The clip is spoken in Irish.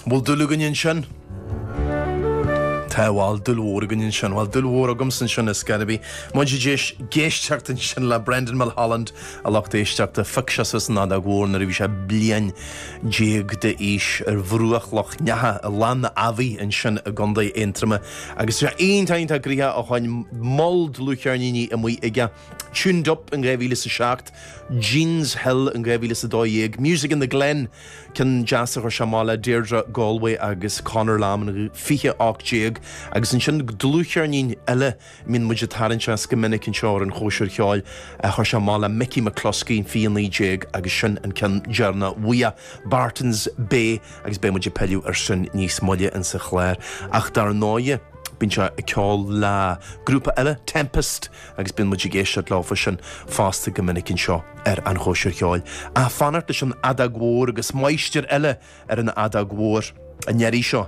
Bhfuil dúil againn ansin? Tá, bhuel, dúil mhór againn ansin. Bhuel, dúil mhór agamsa ansin ar scor ar bith. Muid ag éisteacht ansin le Brendan Mulholland, a lucht éisteachta. Phioc sé suas an fheadóg mhór nuair a bhí sé bliain déag d'aois ar bhruach Loch Neacha i Lann na Abhaí ansin i gContae Aontroma. Agus tá sé iontach, iontach gnoitheach ó shoin, moll dlúthcheirníní amuigh aige. Tuned Up in 2007, Jeans Hill in 2012, Music in the Glen, Ceann deas a chuir sé amach le Deirdre Galway agus Conor Lamb in 2018 agus ansin dlúthcheirnín eile a mbíonn muid ag tarraingt as go minic anseo ar an Chóisir Cheoil a chuir sé amach le Mickey McCluskey in 2019 agus sin an ceann deireanach uaidh, Barton's Bay agus beidh muid ag pilleadh ar sin níos moille insa chlár. Ach dar ndóighe, bíonn sé ag ceol le grúpa eile, Tempest, agus bíonn muid ag éisteacht leofa sin fosta go minic anseo ar An Chóisir Cheoil. Ach fanacht leis an fheadóg mhór agus máistir eile ar an fheadóg mhór an iarraidh seo.